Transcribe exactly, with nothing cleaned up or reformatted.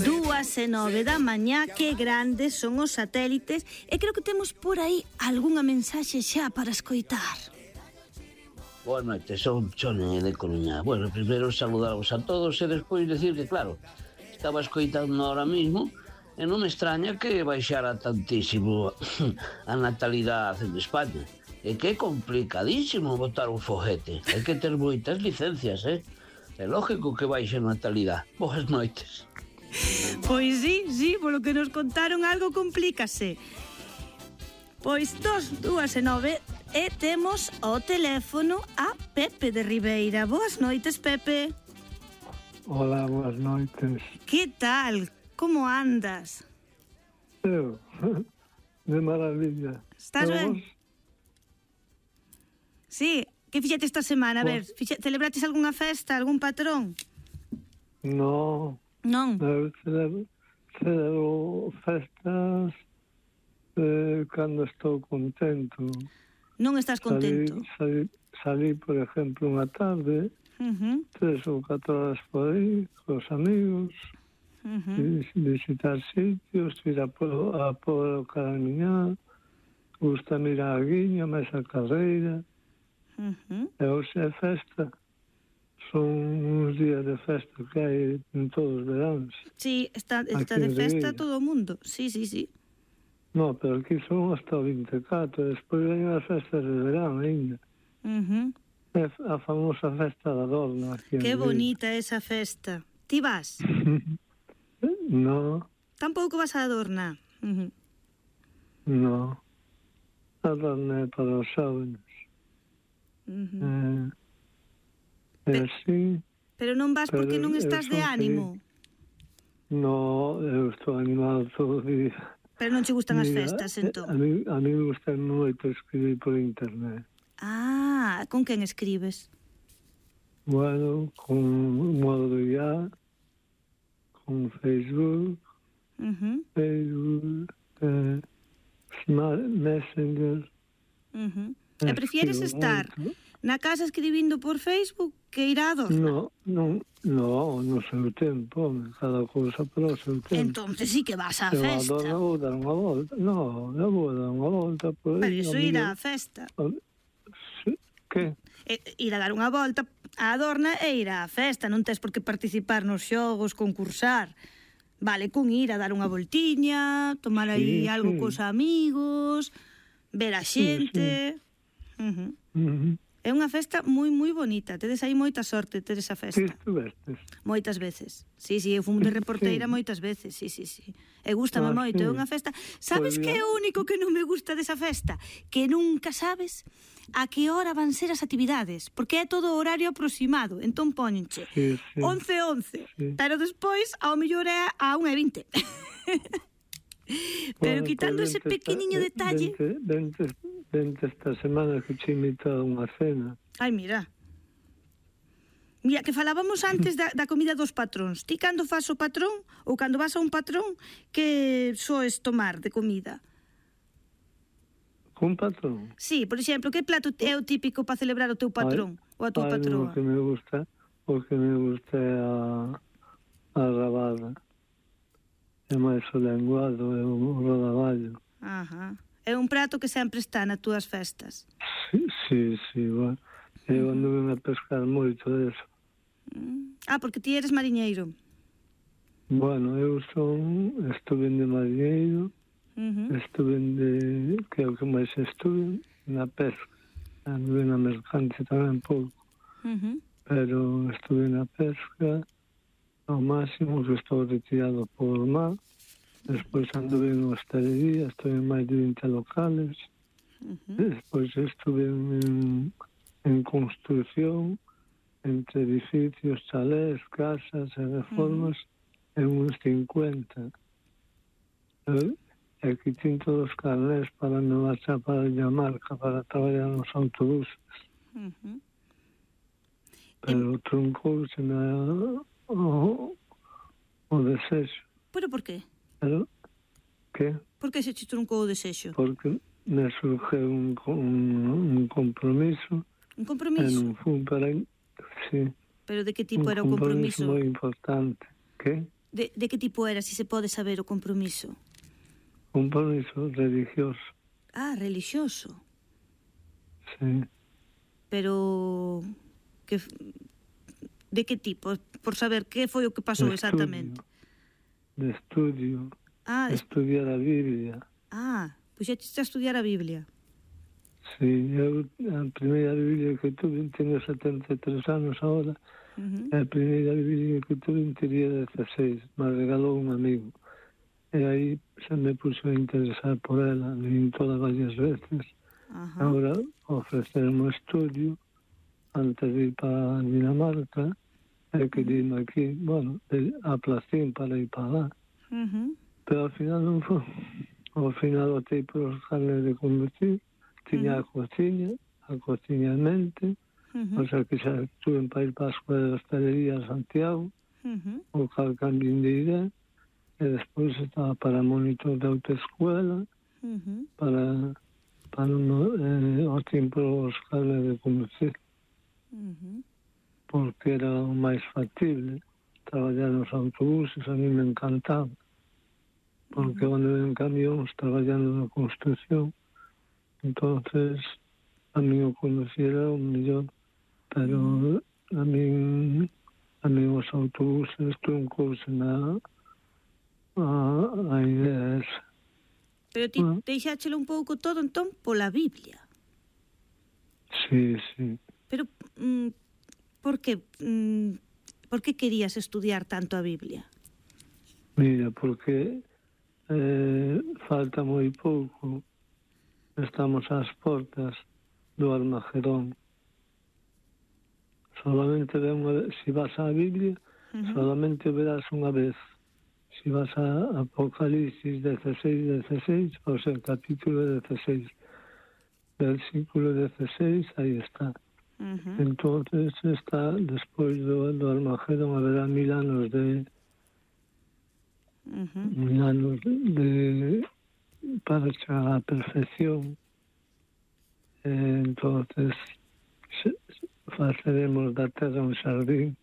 Dúas e nove da mañá, que grandes son os satélites, e creo que temos por aí algunha mensaxe xa para escoitar. Boa noite, son Chone de Coruña. Bueno, primeiro saludaros a todos e despois decir que, claro, estaba escoitando ahora mismo e non me extraña que baixara tantísimo a natalidade en España. E que é complicadísimo botar un foguete. Hai que ter moitas licencias, eh? É lógico que baixe a natalidade. Boas noites. Pois sí, sí, polo que nos contaron algo complícase. Pois dos, dúas e nove, e temos o teléfono a Pepe de Ribeira. Boas noites, Pepe. Hola, boas noites. Que tal? Como andas? Eu, de maravilla. Estás ben? Sí, que fixete esta semana? A ver, fixe, celebrates algunha festa, algún patrón? No. Non? Eu celebro, celebro festas eh, cando estou contento. Non estás contento? Salí, salí, salí por exemplo, unha tarde, uh-huh. tres ou catro horas por aí, cos amigos, uh-huh. visitar sitios, ir a por, a por o Caramiñá, gusta mirar a Guiña, máis a carreira, uh-huh. e hoxe é festa. Son uns días de festa que hai en todos os veráns. Sí, está, está de festa todo o mundo. Sí, sí, sí. No, pero aquí son hasta o vinte e catro, despois veñen as festas de verán ainda. Uh-huh. É a famosa festa da Adorna. Que bonita esa festa. Ti vas? No. Tampouco vas a Adorna? Uh-huh. No. Adorna é para os xóvenes. Uh-huh. Eh... Pero, sí, pero non vas porque non estás de ánimo? No, eu estou animado todo o día. Pero non che gustan as festas, entón? A mí, a mí me gusta moito escribir por internet. Ah, con quen escribes? Bueno, con modo de I A, con Facebook, uh-huh. Facebook, eh, Smart Messenger. Uh-huh. E prefieres estar moito na casa escribindo por Facebook que ir a Adorna? No, non, no, no seu tempo, cada cousa polo seu tempo. Entonces sí que vas á eu festa. Eu Adorna vou dar unha volta. No, eu vou dar unha volta por aí. Pero iso ir á festa. Que? E, ir a dar unha volta a Adorna e ir á festa. Non tes por que participar nos xogos, concursar. Vale, con ir a dar unha voltiña, tomar aí sí, algo sí. cos amigos, ver a xente... Sí, sí. Uh-huh. Uh-huh. É unha festa moi, moi bonita. Tedes aí moita sorte ter esa festa. Sí, estuvestes. Moitas veces. Sí, sí, eu fui de reporteira sí. moitas veces. Sí, sí, sí. E gústame ah, moito. É sí. unha festa... Sabes pues que é o único que non me gusta desa festa? Que nunca sabes a que hora van ser as actividades. Porque é todo horario aproximado. Entón póñenche sí, sí. once once. Sí. Pero despois, ao mellor é a unha e vinte. Pero bueno, quitando ese pequeniño esta, detalle... Vente, vente, vente esta semana que che invitado a unha cena. Ai, mira. Mira, que falábamos antes da, da comida dos patróns. Ti cando fas o patrón, ou cando vas a un patrón, que soes tomar de comida? Un patrón? Sí, por exemplo, que plato é o típico para celebrar o teu patrón? Ai, ou a tua patroa? O que me gusta, o que me gusta é a, a rabada. É máis o lenguado, é o rodaballo. Ajá. É un prato que sempre está nas túas festas. Sí, sí, sí, bueno. Eu anduve a pescar moito deso. Ah, porque ti eres mariñeiro. Bueno, eu son, estuve de mariñeiro, uh-huh. estuve de, que é o que máis estuve, na pesca. Anduve na mercante tamén pouco. Uh-huh. Pero estuve na pesca, ao máximo que estou retirado por mar. Despois anduve en hostelería, estuve en máis de vinte locales. Uh-huh. Despois estuve en, en construcción, entre edificios, chalés, casas e reformas, uh-huh. en uns cincuenta. E aquí tin todos os carnés para me marchar para Dinamarca, para traballar nos autobuses. Uh-huh. Pero e... truncouse na... O, o desexo. Pero por qué? Pero, que? Por que se te truncou o desexo? Porque me surgiu un, un, un compromiso. Un compromiso? En un fun para... Sí. Pero de que tipo un era o compromiso? Un compromiso moi importante. Que? De, de que tipo era, si se pode saber o compromiso? Compromiso religioso. Ah, religioso. Sí. Pero... que de que tipo? Por saber que foi o que pasou exactamente. De estudio. Ah, de estudiar a Biblia. Ah, pois xa a estudiar a Biblia. Sí, eu a primeira Biblia que tuve, teño setenta e tres anos ahora, uh-huh. A primeira Biblia que tuve tería dezasseis, me regalou un amigo. E aí se me puxo a interesar por ela, leín todas varias veces. Uh-huh. Ahora ofrecerme o estudio antes de ir para Dinamarca, e que dime aquí, bueno, aplacín para ir para lá. Uh-huh. Pero ao final non foi. Ao final optei por os carnes de conducir, tiña uh-huh. a cociña, a cociña en mente, uh-huh. o sea que xa estuve para ir para a Escuela de Hostelería a Santiago, uh-huh. o cal cambien de idea, e despois estaba para monitor de autoescuela, uh-huh. para, para no, eh, o tiempo os carnes de conducir. Uh-huh. Porque era o máis factible. Traballar nos autobuses a mí me encantaba. Porque uh-huh. onde ven camións traballando na construcción, entonces a mí o conducir era o mellor, pero uh-huh. a mí a mí os autobuses truncouse na a, a idea esa. Pero ti uh-huh. deixáchelo un pouco todo entón pola Biblia. Sí, sí. Pero mm, por que mm, por que querías estudiar tanto a Biblia? Mira, porque eh, falta moi pouco. Estamos ás portas do Armagedón. Solamente ve unha vez, se vas á Biblia, uh-huh. solamente verás unha vez. Se vas a Apocalipsis dezasseis, dezasseis, o sea, capítulo dezasseis, versículo dezasseis, aí está. Uh-huh. Entonces está, despois do, do Armagedón, haberá mil anos de uh-huh. mil anos de, de para chegar á perfección. Eh, entonces se, faceremos da terra un xardín